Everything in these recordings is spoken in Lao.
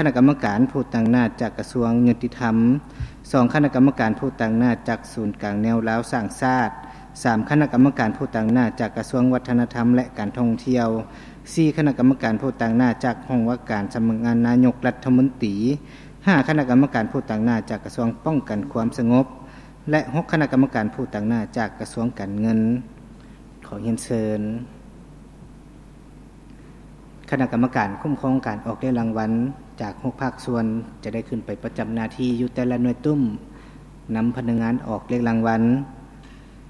ຄະນະກຳມະການຜູ້ຕາງໜ້າຈາກກະຊວງຍຸຕິທຳ, ສອງ ຄະນະກຳມະການຜູ້ຕາງໜ້າຈາກສູນກາງແນວລາວສ້າງຊາດ, ສາມ ຄະນະກຳມະການຜູ້ຕາງໜ້າຈາກກະຊວງວັດທະນະທຳ ແລະ ການທ່ອງທ່ຽວ, ສີ່ ຄະນະກຳມະການຜູ້ຕາງໜ້າຈາກຫ້ອງວ່າການສຳນັກງານນາຍົກລັດຖະມົນຕີ, ຫ້າ ຄະນະກຳມະການຜູ້ຕາງໜ້າຈາກກະຊວງປ້ອງກັນຄວາມສະຫງົບ ແລະ ຫົກ ຄະນະກຳມະການຜູ້ຕາງໜ້າຈາກກະຊວງການເງິນ. ຂໍຮຽນເຊີນ ຄະນະກຳມະການຄຸ້ມຄອງການອອກເລກລາງວັນຈາກຫົກພາກສ່ວນ ຈະໄດ້ຂຶ້ນໄປປະຈຳໜ້າທີ່ຢູ່ແຕ່ລະໜ່ວຍຕຸ້ມ, ນຳພະນັກງານອອກເລກລາງວັນ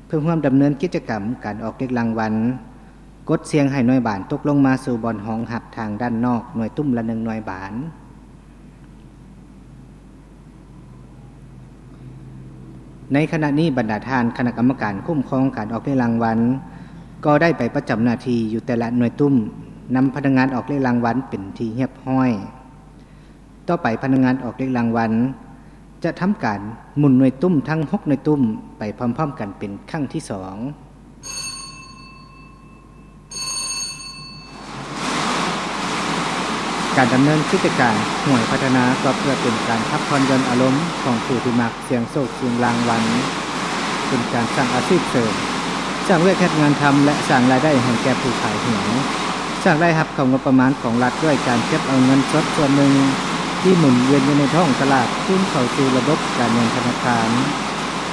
ເພື່ອຮ່ວມດຳເນີນກິດຈະກຳການອອກເລກລາງວັນ, ກົດສ່ຽງໃຫ້ໜ່ວຍບານຕົກລົງມາສູ່ບ່ອນຮອງຮັບທາງດ້ານນອກໜ່ວຍຕຸ້ມລະໜຶ່ງໜ່ວຍບານ. ໃນຂະນະນີ້ ບັນດາທ່ານຄະນະກຳມະການຄຸ້ມຄອງການອອກເລກລາງວັນ ກໍໄດ້ໄປປະຈຳໜ້າທີ່ຢູ່ແຕ່ລະໜ່ວຍຕຸ້ມ, ນຳພະນັກງານອອກເລກລາງວັນເປັນທີ່ຮຽບຮ້ອຍ. ຕໍ່ໄປພະນັກງານອອກເລກລາງວັນ ຈະທຳການໝູນໜ່ວຍຕຸ້ມທັງຫົກໜ່ວຍຕຸ້ມໄປພ້ອມໆກັນເປັນຄັ້ງທີສອງ. ການດຳເນີນກິດຈະການຫວຍພັດທະນາ ກໍເພື່ອເປັນການພັກຜ່ອນຢ່ອນອາລົມຂອງຜູ້ທີ່ມັກສ່ຽງໂຊກສ່ຽງລາງວັນ, ເປັນການສ້າງອາຊີບເສີມ, ສ້າງວຽກເຮັດງານທຳ ແລະ ສ້າງລາຍໄດ້ໃຫ້ແກ່ຜູ້ຂາຍຫວຍ. ສ້າງລາຍຮັບເຂົ້າງົບປະມານຂອງລັດດ້ວຍການເກັບເອົາເງິນສົດສ່ວນໜຶ່ງທີ່ໝູນວຽນຢູ່ໃນທ້ອງຕະຫຼາດ ຄືນເຂົ້າສູ່ລະບົບການເງິນທະນາຄານ,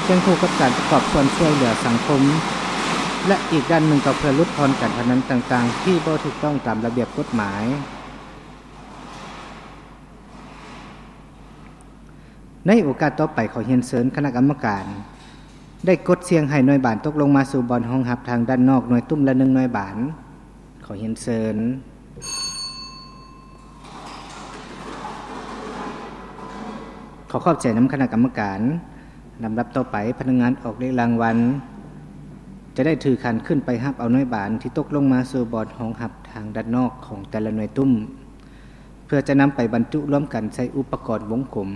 ຄຽງຄູ່ກັບການປະກອບສ່ວນຊ່ວຍເຫຼືອສັງຄົມ ແລະ ອີກດ້ານໜຶ່ງກໍເພື່ອຫຼຸດຜ່ອນການພະນັນຕ່າງໆທີ່ບໍ່ຖືກຕ້ອງຕາມລະບຽບກົດໝາຍ. ໃນໂອກາດຕໍ່ໄປ ຂໍຮຽນເຊີນຄະນະກຳມະການ ໄດ້ກົດສ່ຽງໃຫ້ໜ່ວຍບານຕົກລົງມາສູ່ບ່ອນຮອງຮັບທາງດ້ານນອກໜ່ວຍຕຸ້ມລະໜຶ່ງໜ່ວຍບານ. ຂໍຮຽນເຊີນ. ຂໍຂອບໃຈນຳຄະນະກຳມະການ. ລຳດັບຕໍ່ໄປ, ພະນັກງານອອກເລກລາງວັນ ຈະໄດ້ຖືຂັນຂຶ້ນໄປຮັບເອົາໜ່ວຍບານທີ່ຕົກລົງມາສູ່ບ່ອນຮອງຮັບທາງດ້ານນອກຂອງແຕ່ລະໜ່ວຍຕຸ້ມ ເພື່ອຈະນຳໄປບັນຈຸລວມກັນໃສ່ອຸປະກອນວົງກົມ.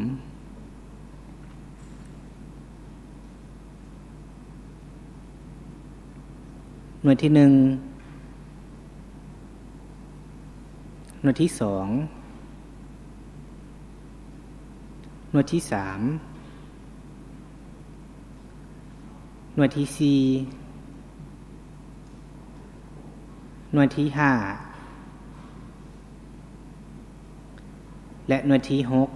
ໜ່ວຍທີໜຶ່ງ, ໜ່ວຍທີສອງ, ໜ່ວຍທີສາມ, ໜ່ວຍທີສີ່, ໜ່ວຍທີຫ້າ ແລະ ໜ່ວຍທີຫົກ.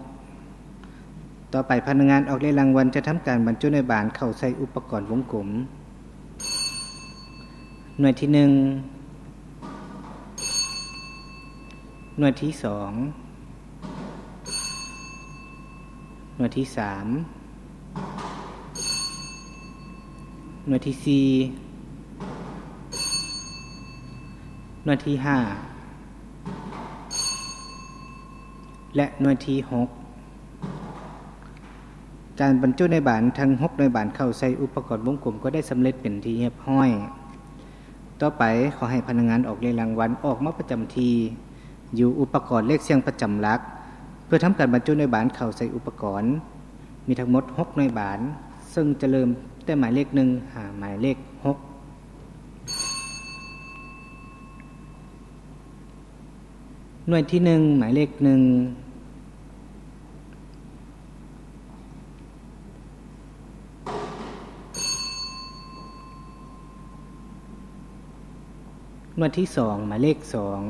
ຕໍ່ໄປພະນັກງານອອກເລກລາງວັນຈະທຳການບັນຈຸໜ່ວຍບານເຂົ້າໃສ່ອຸປະກອນວົງກົມ. ໜ່ວຍທີໜຶ່ງ, ໜ່ວຍທີສອງ, ໜ່ວຍທີສາມ, ໜ່ວຍທີສີ່, ໜ່ວຍທີຫ້າ ແລະ ໜ່ວຍທີຫົກ. ການບັນຈຸໜ່ວຍບານທັງຫົກໜ່ວຍບານເຂົ້າໃສ່ອຸປະກອນວົງກົມກໍໄດ້ສຳເລັດເປັນທີ່ຮຽບຮ້ອຍ. ຕໍ່ໄປ, ຂໍໃຫ້ພະນັກງານອອກເລກລາງວັນອອກມາປະຈຳທີ່ຢູ່ອຸປະກອນເລກສ່ຽງປະຈຳຫຼັກ ເພື່ອທຳການບັນຈຸໜ່ວຍບານເຂົ້າໃສ່ອຸປະກອນ. ມີທັງໝົດຫົກໜ່ວຍບານ, ເຊິ່ງຈະເລີ່ມແຕ່ໝາຍເລກໜຶ່ງຫາໝາຍເລກຫົກ. ໜ່ວຍທີໜຶ່ງ, ໝາຍເລກໜຶ່ງ. ໜ່ວຍທີສອງ, ໝາຍເລກສອງ.